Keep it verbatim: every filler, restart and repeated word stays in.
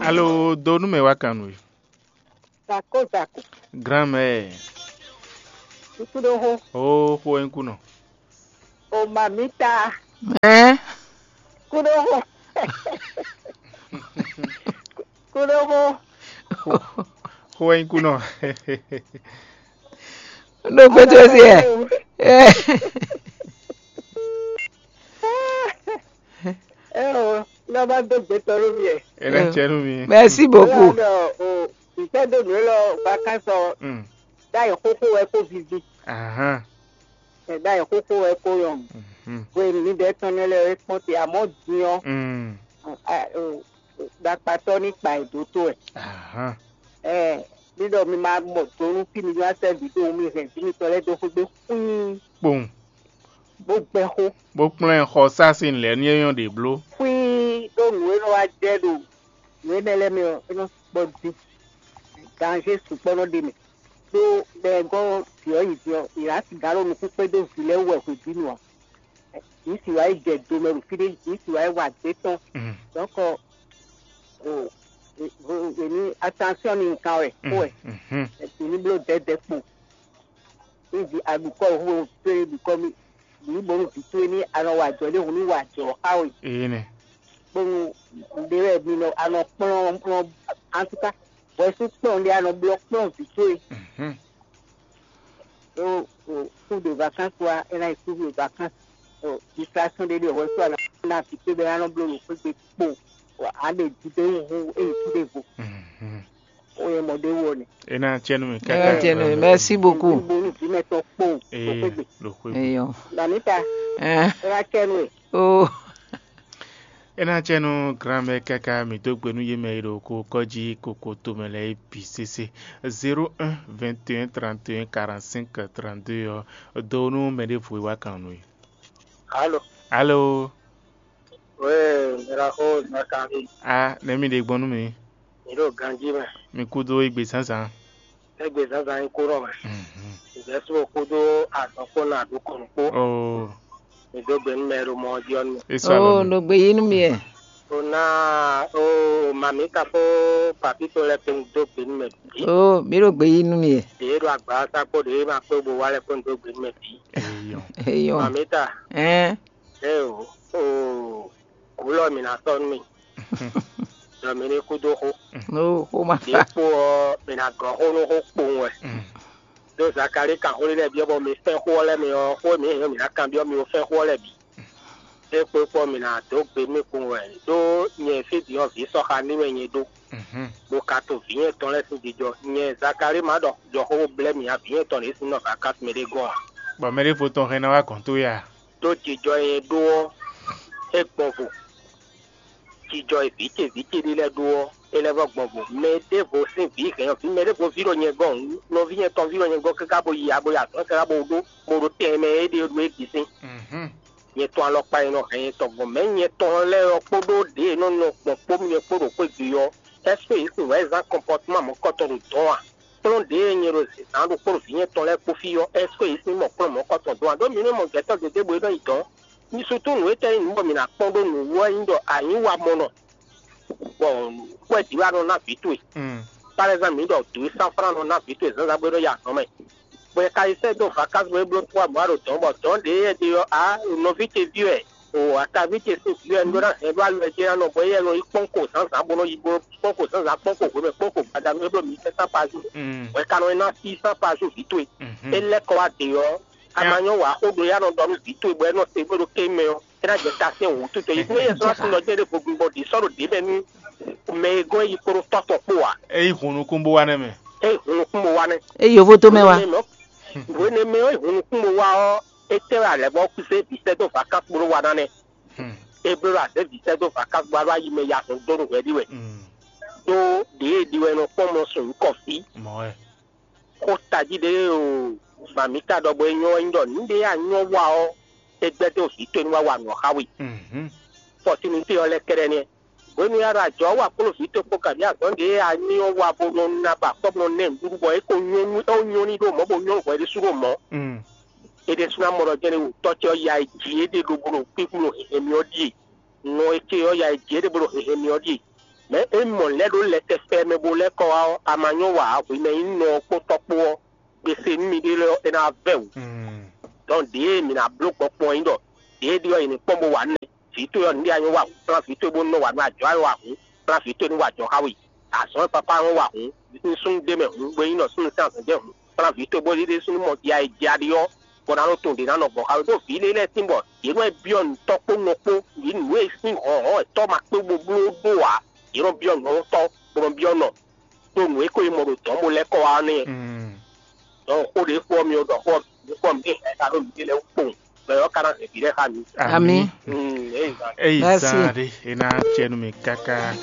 Alo, do nú mɛ wá kan nú we. Zako zako. Grand-mère. Kukuɖoxo. O xo wɛ nyí kunɔ. O mamita. Ɛ? Kuɖoxo. Kuɖoxo. Xo wɛ nyí kunɔ. Ɖo gbɛtɔ sí ɛ. Ɛ o, lɔ bá dó gbɛtɔ nú mi ɛ. É ná cɛ nú mi. Merci beaucoup. Lɔ o, ìtẹ́ dó nǔ élɔ́ vacances ɔ, Mm. Ɖ'ayǐ xóxó wɛ kó vivi. Ahán. Ɛ, ɖ'ayǐ xóxó wɛ kó yɔn. Mhm. Hwenu mi ɖɛ́ tɔn nɛ́ lɛ́ɛ é kpɔ́n te, amɔ̌ din ɔ́, Mm. a, o, ɖakpatɔ́ ní kpa ɛ dó tó wɛ. Ahán. Ɛ, mi ɖɔ mi ma mɔ do nú fí mi ní wá sɛ́ vǐ dó mi hɛn vǐ mitɔn lɛ́ɛ dó xwé gbe xwíí, Kpowun. Bó gbɛ́ xó. Bó kplɔ́n ɛ xɔ sá sín lɛ̌ ní é nyɔ́ ɖě bló. Xwíí ɖó nǔ e nɔ wá jɛ ɖo nǔ énɛ́ lɛ́ɛ mɛ ɔ́, é nɔ sukpɔ́ dín. Danzé sukpɔ́ nɔ ɖe mɛ. Ɖó mɛ e gɔ́ vǐ ɔ́ yi din ɔ́, è nǎ sixá ɖo nukún kpé dó vǐ lɛ́ɛ wú wɛ hwebǐnu ǎ. Yǐ sì wá yi jɛ do mɛ ɖo fí ɖé, yǐ sì wá yi wa dě tɔn. Mm. Donc, o, o, o, e ní attention ní nkan wɛ, kó wɛ. Mhm. E ní bló dɛdɛ kpo. Ní vi aɖukɔ hu pé ɖukɔ mi, ní bónú vǐ towe ní anɔ wa jɔ ɖé hǔn ní wa jɔ xá we. Ee nɛ. Bónú ɖé wɛ mi nɔ anɔ kplɔ́n kplɔ́n, en tout cas, hwɛsú kplɔ́n ɖé anɔ blɔ́ kplɔ́n vǐ towe. Mhm. Ɖó o, kú de vacances wá, é ná yi kú de vacances. O, distraction ɖé ɖe hwɛsú anɔ ná vǐ towe bɛ anɔ bló ɖo xwé gbe kpo. Wa a ɖe jí ɖé hu é yi kú ɖe vo. Mhm. Ó yɛ mɔ ɖé wɔ ni. É ná cɛ nú mi É káká. Ná cɛ nú mi. Merci beaucoup. Bónú vǐ mɛ tɔn kpo. Ee, ɖo xwé gbe. Eyɔ. Mamita, Ɛ. É ná cɛ nú we. Oh. É ná cɛ nú grand-mère káká, mǐ dó gbe nú yě mɛ e ɖo ko kɔ́ jí koko tomɛ lɛ́ɛ é bǐ sésé. Zéro un, vingt et un, trente et un, quarante-cinq, trente-deux ɔ́, dó nú mɛ ɖěvo e wá kan nú we. Alo. Alo. Wéé, miraxo Zakari. A, nɛ̌ mi ɖe gbɔn nú mi? Mi ɖo ganjí mɛ. Mi kúdó égbé zǎnzǎn. Égbé zǎnzǎn nyí kúnɔ mɛ. Mhm. Ìgbésíwò kúdó azɔn kpó ná ɖó kɔn kpó. Oo. Mi dó gbe nú mɛ e ɖo mɔ ɔ́ jí ɔ́ nú mì. É sɔ́ alɔ Oo, nú. Ɖo gbe yí nú mi ɛ. O ná o mamita kpó papi tɔn lɛ́ɛ kpó un dó gbe nú mɛ bǐ. Oo, mi ɖo gbe yí nú mi ɛ. Ɖě e ɖo agbǎsa kpó ɖě e ma kpé bo wá lɛ́ɛ kpó un dó gbe nú mɛ bǐ. Eyɔn. Eyɔn. Mamita. Ɛn. Eo, oo, gǔlɔ mǐ ná sɔ́ nú mì, ɖɔ mǐ ní kú dó xó. No, xó ma Ɖě ka. Kpó ɔ́, mǐ ná gɔ́ xó nú xó kpowun wɛ. Mm. Ɖó Zakalíi kan xó lɛ́ɛ byɔ́ bɔ mi fɛ́n xó ɔ́ lɛ́ɛ mi ɔ́, xó e mǐ nyí mǐ ná kanbyɔ́ mi ó fɛ́n xó ɔ́ lɛ́ɛ bǐ. É kpé kpɔ́ mǐ ná dó gbe mì kpowun wɛ, ɖó nyɛ fí din ɔ́ vǐ sɔxa ní wɛ nyɛ ɖó, Mhm. bó ka to vǐ nyɛ tɔn lɛ́ɛ sín jijɔ. Nyɛ Zakalíi ma ɖɔ jɔ xó bó blɛ́ mǐ ǎ, vǐ nyɛ tɔn ɖě sín nɔ vakási mɛ ɖé gɔ́n ǎ. Bɔ mɛ ɖěvo tɔn hɛn ná wá gɔ̌n towe a? Ɖó jijɔ e nyɛ ɖó ɔ́, é gbɔn vo. Jijɔ e vǐ ce vǐ ce ɖé lɛ́ɛ ɖó ɔ́, é lɛ́ vɔ́ gbɔn vo. Mɛ ɖěvo sín vǐ hɛn ɔ́, vǐ mɛ ɖěvo ví ɖo nyɛ gɔ́n, nɔví nyɛ tɔn ví ɖo nyɛ gɔ́n káká bó yi a bó yi azɔ̌ káká bó ɖó bó ɖó tɛnmɛ e ɖe ɖó é bǐ sín. Mhm. Nyɛ tɔn alɔkpa e nɔ hɛn nyɛ tɔn gbɔn mɛ̌ nyɛ tɔn lɛ́ɛ ɔ́ kpódó ɖě e nɔ nɔ gbɔn kpó mì é kpó ɖo xwé gbe ɔ́, ɛ́seke yě sin wǎ yi zán kɔnpɔtúma mɔ̌kɔtɔn ɖo dɔ̌n a? Kplɔ́n ɖě e nyɛ ɖo zǐnzán ɖokpó ɖo vǐ nyɛ tɔn lɛ́ɛ kpó fí ɔ́, ɛ́seke yě sin mɔ kplɔ́n mɔ̌kɔtɔn dɔ̌n a? Ɖó mi nú mɔ gbɛtɔ́ gěgé bɔ é nɔ yi dɔ̌n. Mi sú tún nǔ étɛ́ nyí nǔ bɔ mǐ ná kpɔ́n ɖó nǔ wú wɛ nyí ɖɔ a nyǐ wa mɔ nɔ, bɔ kwɛ́ jǐ wɛ a nɔ ná vǐ towe. Mm. Par exemple, mǐ ɖɔ dǒ e sán flán nɔ ná vǐ towe zǎnzǎn bó é nɔ yi azɔ̌ mɛ. Bɔ è ka yi sɛ́ dó vakási bɔ é bló tún wá bɔ a ɖo dɔ̌n bɔ dɔ̌n ɖě e ɖe ɔ́, ǎ, nɔví ce ví wɛ, o ataví ce sín vǐ wɛ un ɖó ná hɛn ɖó alɔ ce ná nɔ bɔ éyɛ́ nɔ yi kpɔ́n ko zǎnzǎn bó nɔ yi bó kpɔ́n ko zǎnzǎn kpɔ́n ko hwemɛ kpɔ́n ko gbadanu é bló mǐ sɛ́n sán pazu. Mm. Bɔ è ka nɔ yi ná sí sán pazu vǐ towe. Mhm. É lɛ́ kɔ wá dě ɔ́, a ma nyɔ́ wǎ xó ɖo yá nɔ ɖɔ nú vǐ towe bɔ é nɔ se bó ɖo ké mɛ ɔ́, é ná jɛ ta sɛn wǔtu tɔn. Yě kún yɛ sɔ́ asúnɔ jɛ ɖé vogbingbɔ ɖě sɔ́ ɖo ɖě mɛ nú mɛ e gɔ́n yi kpódó tɔ́ tɔn kpó ǎ. É yi hun nukún bó wá nɛ́ mɛ. É yi hun nukún bó wá nɛ́. É yi yovo tó mɛ wá. Hwenu e mɛ ɔ́ yi hun nukún bó wá ɔ́, é tɛ́ wɛ alɛ̌ bɔ kú zé vǐ sɛ́ dó vakási bó ɖó wa ná nɛ́. Hmm. É bló ɖo azě vǐ sɛ́ dó vakási bó wá ɖó ayi mɛ ya hɔn dó nú hwɛɖí wɛ. Hmm. Ɖó ɖě e ɖi wɛ nɔ kpɔ́n mɔ sɔn nyǐkɔ fí. Mɔ̌ wɛ. Xó tají ɖé o, mǎmíta ɖɔ bɔ é nyɔ́ wɛ nyí ɖɔ nǔɖé e a nyɔ́ wa ɔ́, é gbɛ́ dó vǐ towe ní wá wa nǔ ɔ́ xá we. Mhm. Fɔsinúte ɔ́ lɛ́ kɛ́ɖɛ́ nɛ́. Hwenu e a ɖo ajɔ̌ wa kpló vǐ towe kpó kabi azɔ̌ ɖě e a nyɔ́ wa bó nɔ ná ba kpɔ́ bó nɔ ná ɛ nǔɖuɖu bɔ é ko nyɔ́ nú é ko nyɔ́ ní ɖó mɔ̌ bó nyɔ́ nú hwɛ ɖésú ɖó mɔ̌. Mm. É ɖésú ná mɔ ɖɔ jɛ́n é wǔ tɔ́ ce ɔ́ ya e jǐ é ɖe ɖo bó ɖo kpíkpí ɖo hɛ̌nhɛ́n mì ɔ́ ɖíe. Nɔ e ce ɔ́ ya e jǐ é ɖe bó ɖo hɛ̌nhɛ́n mì ɔ́ ɖíe. Mɛ é mɔ lɛ́ ɖó lɛtɛfɛ mɛ bo lɛ́ kɔ wá ɔ́, a ma nyɔ́ wa hwemɛ nyí nɔ ɔ́ kpó tɔ́ kpó ɔ́, gbe se nú miɖée lɛ́ɛ ɔ́, é ná vɛ́ wǔ. Dɔn ɖěe mǐ ná bló gbɔn kpɔn nyí ɖɔ ɖěe ɖi ɔ́, è nǐ kpɔ́n bó wa nú mì. Vǐ towe ɔ́, nǔɖé a nyɔ́ wa hǔn, kplán vǐ towe bó nɔ wa nú ajɔ̌ a nɔ wa hǔn, kplán vǐ towe ní wa ajɔ̌ xá we. Azɔ̌ e papá nɔ́ wa hǔn, nú súnnu ɖé mɛ hǔn, bó nyí nɔ súnnu sín azɔ̌ jɛ hǔn, kplán vǐ towe bó ɖéɖé súnnu mɔ ya e ja ɖi ɔ́, bɔ ná nɔ tɔn ɖě ná nɔ gbɔn xá we. Ɖó vǐ lé lɛ́ɛ sín bɔ yě nɔ byɔ́ nǔ tɔ́ kpó nɔ kpó, yě nǔ e sín hɔ̌nhɔ́n wɛ tɔ́ ma kpé bó bló ɖó ǎ, yě nɔ byɔ́ nǔ ɔ́ tɔ́, bó nɔ byɔ́ nɔ, ɖó nǔ e ko yi mɔ ɖo dɔ̌n bo lɛ́ kɔ wá ɔ́ nɛ́. Dɔn xó ɖě fó ɔ́ mi ɔ ɖɔ xó ɔ́ mi kpɔ́n mi ɖe hɛn ta ɖó nǔɖé lɛ́ɛ wú kpowun, bɔ yɔ́ ka ná hɛn vǐ lɛ́ɛ xá mi. Ami. Eyi Merci. Zan ɖe e ná cɛ nú mi káká.